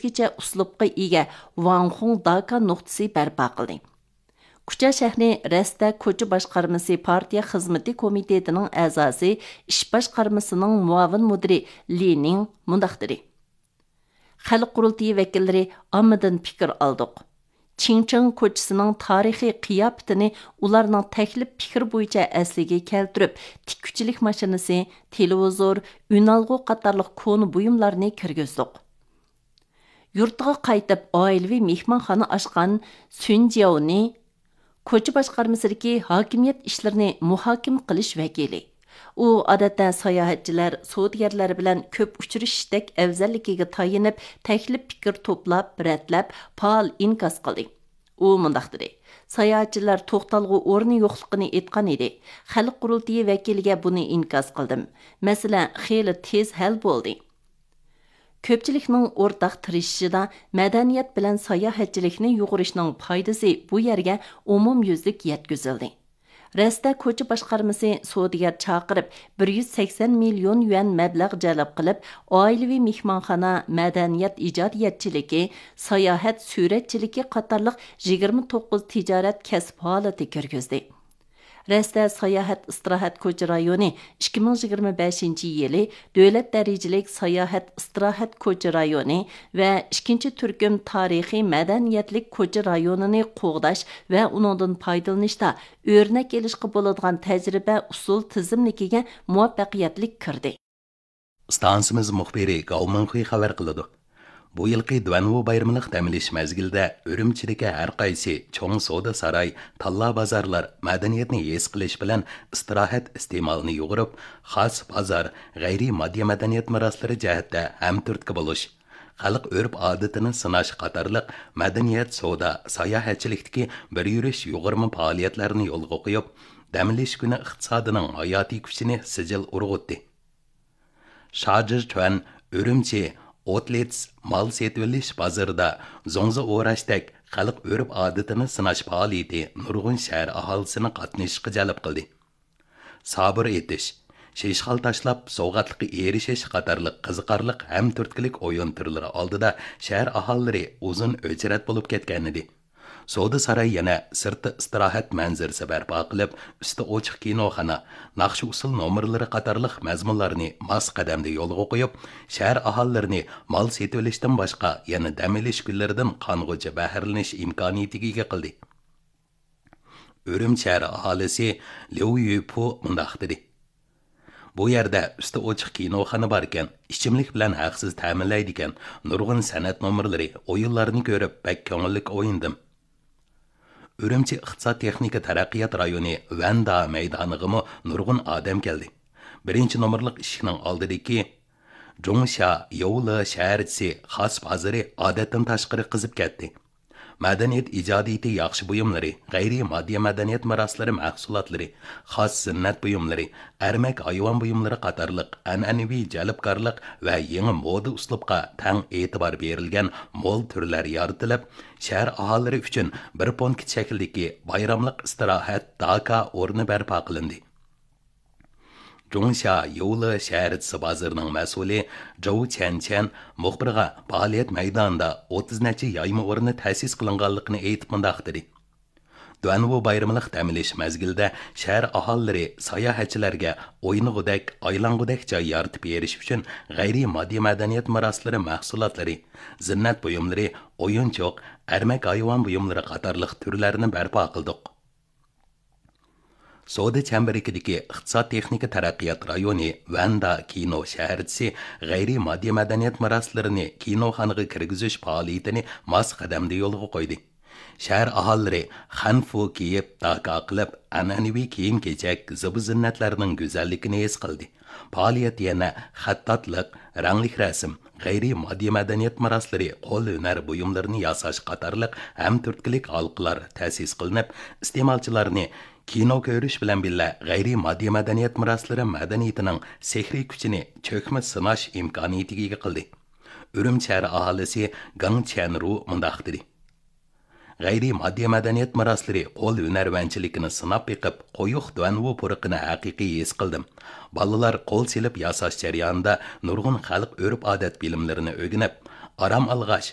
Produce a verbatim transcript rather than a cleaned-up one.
ئىككىچە ئۇسلۇبقا ئىگە ۋاڭخۇڭ داكا نۇقتىسى بەرپا قىلدى. كۇچا شەھىرى رەستە كوچا باشقارمىسى پارتىيە خىزمىتى كومىتېتىنىڭ ئەزاسى، ئىش باشقارمىسىنىڭ مۇئاۋىن مۇدىرى لى نىڭ مۇنداق دېدى: خەلق قۇرۇلتىيى ۋەكىللىرى ئاممىدىن پىكىر ئالدۇق. چىڭچىڭ كوچىسىنىڭ تارىخىي قىياپىتىنى ئۇلارنىڭ تەكلىپ پىكرى بويىچە ئەسلىگە كەلتۈرۈپ، تىككۈچىلىك ماشىنىسى، تېلېۋىزور، ئۈنئالغۇ قاتارلىق كونا بۇيۇملارنى كىرگۈزدۇق. يۇرتىغا قايتىپ، ئائىلىۋى مېھمانخانا ئاچقان سۈن جياۋنى كوچا باشقارمىسىدىكى ھاكىمىيەت ئىشلىرىنى مۇھاكىمە قىلىش ۋەكىلى. ئۇ ئادەتتە ساياھەتچىلەر، سودىگەرلەر بىلەن كۆپ ئۇچرىشىشتەك ئەۋزەللىكىگە تايىنىپ، تەكلىپ پىكىر توپلاپ، رەتلەپ، پائال ئىنكاس قىلدى. ئۇ مۇنداق دېدى: ساياھەتچىلەر توختالغۇ ئورنى يوقلۇقىنى ئېيتقان ئىدى. خەلق قۇرۇلتىيى ۋەكىلىگە بۇنى ئىنكاس قىلدىم. مەسىلە خېلى تېز ھەل بولدى. كۆپچىلىكنىڭ ئورتاق تىرىشىشىدا مەدەنىيەت بىلەن ساياھەتچىلىكنى يۇغۇرۇشنىڭ پايدىسى بۇ يەرگە ئومۇميۈزلۈك يەتكۈزۈلدى. رەستە كوچا باشقارمىسى سودىگەر چاقىرىپ، بىر يۈز سەكسەن مىليون يۈەن مەبلەغ جەلپ قىلىپ، ئائىلىۋى مېھمانخانا، مەدەنىيەت ئىجادىيەتچىلىكى، ساياھەت سۈرەتچىلىكى قاتارلىق يىگىرمە توققۇز تىجارەت كەسىپ ھالىتى كىرگۈزدى. رەستە ساياھەت ئىستىراھەت كوچا رايونى ئىككى مىڭ يىگىرمە بەشىنچى يىلى دۆلەت دەرىجىلىك ساياھەت ئىستىراھەت كوچا رايونى ۋە ئىككىنچى تۈركۈم تارىخىي مەدەنىيەتلىك كوچا رايونىنى قوغداش ۋە ئۇنىڭدىن پايدىلىنىشتا ئۆرنەك ئېلىشقا بولىدىغان تەجرىبە ئۇسۇل تىزىملىكىگە مۇۋەپپەقىيەتلىك كىردى. ئىستانسىمىز مۇخبىرى گاۋ مىڭخۇي خەۋەر قىلىدۇ. بۇ يىلقى دۇەنۋۇ بايرىمىلىق دەم ئېلىش مەزگىلىدە ئۈرۈمچىدىكى ھەر قايسى چوڭ سودا ساراي، تاللا بازارلار مەدەنىيەتنى ھېس قىلىش بىلەن ئىستىراھەت ئىستېمالىنى يۇغۇرۇپ، خاس بازار، غەيرىي ماددىي مەدەنىيەت مىراسلىرى جەھەتتە ھەمتۈرتكە بولۇش، خەلق ئۆرپ-ئادىتىنى سىناش قاتارلىق مەدەنىيەت، سودا، ساياھەتچىلىكتىكى بىر يۈرۈش يۇغۇرما پائالىيەتلەرنى يولغا قويۇپ، دەم ئېلىش كۈنى ئىقتىسادىنىڭ ھاياتىي كۈچىنى سىجىل ئۇرغۇتتى. شاجىچۈەن ئۈرۈمچى ئوتلېتس مال سېتىۋېلىش بازىرىدا زوڭزا ئوراشتەك خەلق ئۆرپ-ئادىتىنى سىناش پائالىيىتى نۇرغۇن شەھەر ئاھالىسىنى قاتنىشىشقا جەلپ قىلدى. سابۇر ئېتىش، شېشخال تاشلاپ سوۋغاتلىققا ئېرىشىش قاتارلىق قىزىقارلىق ھەم تۈرتكىلىك ئويۇن تۈرلىرى ئالدىدا شەھەر ئاھالىلىرى ئۇزۇن ئۆچرەت بولۇپ كەتكەنىدى. سودا ساراي يەنە سىرتتا ئىستىراھەت مەنزىرىسى بەرپا قىلىپ، ئۈستى ئوچۇق كىنوخانا، ناخشا-ئۇسسۇل نومۇرلىرى قاتارلىق مەزمۇنلارنى ماس قەدەمدە يولغا قويۇپ، شەھەر ئاھالىلىرىنى مال سېتىۋېلىشتىن باشقا يەنە دەم ئېلىش كۈنلىرىدىن قانغۇچە بەھرىلىنىش ئىمكانىيىتىگە ئىگە قىلدى. ئۈرۈمچى شەھەر ئاھالىسى ليۇ يۈپۇ مۇنداق دېدى: بۇ يەردە ئۈستى ئوچۇق كىنوخانا باركەن، ئىچىملىك بىلەن ھەقسىز تەمىنلەيدىكەن، نۇرغۇن سەنئەت نومۇرلىرى، ئويۇنلارنى كۆرۈپ بەك كۆڭۈللۈك ئوينىدىم. ئۈرۈمچى ئىقتىساد تېخنىكا تەرەققىيات رايونى ۋەندا مەيدانىغىمۇ نۇرغۇن ئادەم كەلدى. بىرىنچى نومۇرلۇق ئىشىكنىڭ ئالدىدىكى جۇڭشيا يوۋلې شەھەرچىسى خاس بازىرى ئادەتتىن تاشقىرى قىزىپ كەتتى. مەدەنىيەت ئىجادىيىتى ياخشى بۇيۇملىرى، غەيرىي ماددىي مەدەنىيەت مىراسلىرى مەھسۇلاتلىرى، خاس زىننەت بۇيۇملىرى، ئەرمەك ھايۋان بۇيۇملىرى قاتارلىق ئەنئەنىۋى جەلپكارلىق ۋە يېڭى مودا ئۇسلۇبقا تەڭ ئېتىبار بېرىلگەن مول تۈرلەر يارىتىلىپ، شەھەر ئاھالىلىرى ئۈچۈن بىر پونكىت شەكلىدىكى بايراملىق ئىستىراھەت داكا ئورنى بەرپا قىلىندى. جۇڭشيا يوۋلې شەھەرچىسى بازىرىنىڭ مەسئۇلى جوۋ چيەنچيەن مۇخبىرغا پائالىيەت مەيدانىدا ئوتتۇز نەچچە يايما ئورنى تەسىس قىلىنغانلىقىنى ئېيتىپ مۇنداق دېدى: دۇەنۋۇ بايرىملىق دەم ئېلىش مەزگىلىدە شەھەر ئاھالىلىرى ساياھەتچىلەرگە ئوينىغۇدەك، ئايلانغۇدەك جاي يارىتىپ بېرىش ئۈچۈن غەيرىي ماددىي مەدەنىيەت مىراسلىرى مەھسۇلاتلىرى، زىننەت بۇيۇملىرى، ئويۇنچۇق، ئەرمەك ھايۋان بۇيۇملىرى قاتارلىق تۈرلەرنى بەرپا قىلدۇق. سودا چەمبىرىكىدىكى ئىقتىساد تېخنىكا تەرەققىيات رايونى ۋەندا كىنو شەھەرچىسى غەيرىي ماددىي مەدەنىيەت مىراسلىرىنى كىنوخانىغا كىرگۈزۈش پائالىيىتىنى ماس قەدەمدە يولغا قويدى. شەھەر ئاھالىلىرى خەنفۇ كىيىپ، داكا قىلىپ، ئەنئەنىۋى كىيىم-كېچەك، زىبۇ-زىننەتلەرنىڭ گۈزەللىكىنى ھېس قىلدى. پائالىيەت يەنە خەتتاتلىق، رەڭلىك رەسىم، غەيرىي ماددىي مەدەنىيەت مىراسلىرى، قول ھۈنەر بۇيۇملىرىنى ياساش قاتارلىق ھەم تۈرتكىلىك ھالقىلار تەسىس قىلىنىپ، ئىستېمالچىلارنى كىنو كۆرۈش بىلەن بىللە غەيرىي ماددىي مەدەنىيەت مىراسلىرى مەدەنىيىتىنىڭ سېھرىي كۈچىنى چۆكمە سىناش ئىمكانىيىتىگە ئىگە قىلدى. ئۈرۈمچى شەھەر ئاھالىسى گاڭ چيەنرۇ مۇنداق دېدى: غەيرىي ماددىي مەدەنىيەت مىراسلىرى، قول ھۈنەرۋەنچىلىكىنى سىناپ بېقىپ، قويۇق دۇەنۋۇ پۇرىقىنى ھەقىقىي ھېس قىلدىم. بالىلار قول سېلىپ ياساش جەريانىدا نۇرغۇن خەلق ئۆرپ-ئادەت بىلىملىرىنى ئۆگىنىپ، ئارام ئالغاچ،